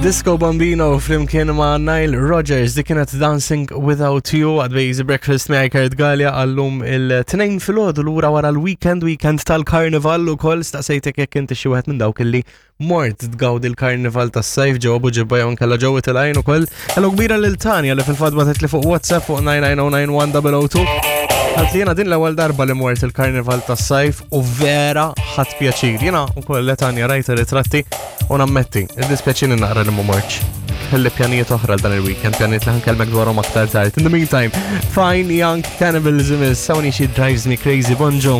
Disco Bambino flimkien ma' Nile Rodgers dik kienet Dancing Without You għad Easy Breakfast miegħi Kurt Gallia għallum il-tnejn filgħodu lura wara l-weekend weekend tal-karnival ukoll staqsejtek jekk inti xi wieħed minn dawk illi mort tgawdi l-karnival tas-sajf ġewwa Buġibba jew nkella ġewwa tilgħin ukoll. Hello kbira lil Tanja li fil-fatt bagħtet li fuq WhatsApp fuq 99091 Għalt li jena din l-ewwel darba li mort il-karnival tas-sajf u vera ħadd pjaċir. Jena ukoll Tanja rajt ritratti U nammetti, iddispjaċini naqra li ma mortx. Kelli pjanijiet oħra dan il-weekend, pjanijiet li ħankellmek dwarhom aktar tard. In the meantime, Fine Young Cannibalism is Sony She Drives Me Crazy. Bonġu.